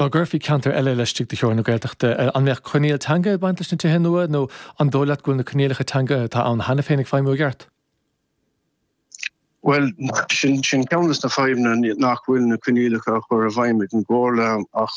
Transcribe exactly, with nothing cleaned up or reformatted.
Dá gcuirfí ceantar eile laistigh de theorainn na Gaeltachta, an mbeadh coinníoll teanga ag baint leis na tithe nua nó an dóigh leat go bhfuil na coinníollacha teanga atá ann cheana féin ag feidhmiú i gceart? Bhuel, sin sin ceann de na fadhbanna, nach bhfuil na coinníollacha á chur i bhfeidhm ag an gComhairle, ach